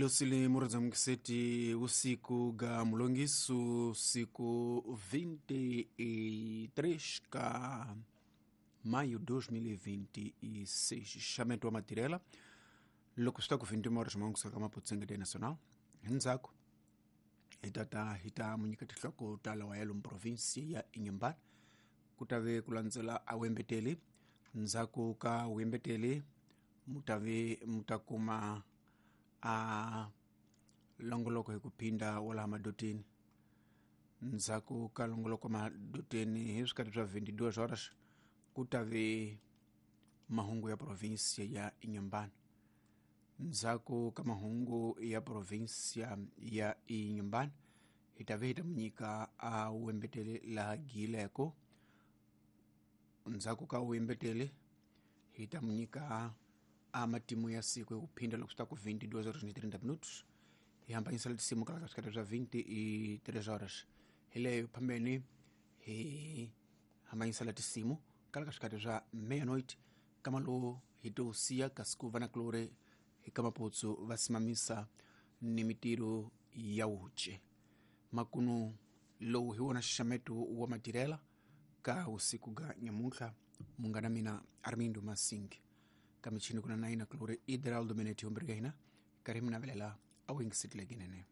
Hilosile muradzamugiseti usiku ga mulongisu siku 23 ka maio 2026, xamento wa matirela loko swi ta ku 21 horas mangusa ka maputsenga nacional. Hindzhaku hi tata hi ta munyika tinhloko ta lawa ya lomu provinsi ya Inhambane, ku ta ve ku landzela a wembeteli. Ndzhaku ka wembeteli mutave mutakuma a longoloko hi ku phinda walaha madoteni. Ndzhaku ka longoloko madoteni hi swikarhi swa 22 horas ku ta ve mahungu ya provinsia ya Inhambane. Ndzhaku ka mahungu ya provinsia ya Inhambane hi ta ve hi ta munyika a wembetele laha gileko. Ndzhaku ka wembetele hi ta munyika a matimu ya siku hi ku phinda loko swi ta ku 22 horas ni 30 minutos, hi hambanyisela tinsimu kala ka swikarhi swa 23 horas. Hi leyo phambeni hi hambanyisela tinsimu kala ka swikarhi swa meia-noite, kama lowu hi to siya kasi ku va na kulore hi ka maputsu va simamisa ni mitiro ya wuce. Makunu lowu hi wona xixameto wa matirela ka usiku ga nyamuntlha. Munghana mina Armindo Masingi, ka michini kuna naina kulore Idraldo Meneti, hombirika hina karhi mi navelela a wu yingisetleke nene.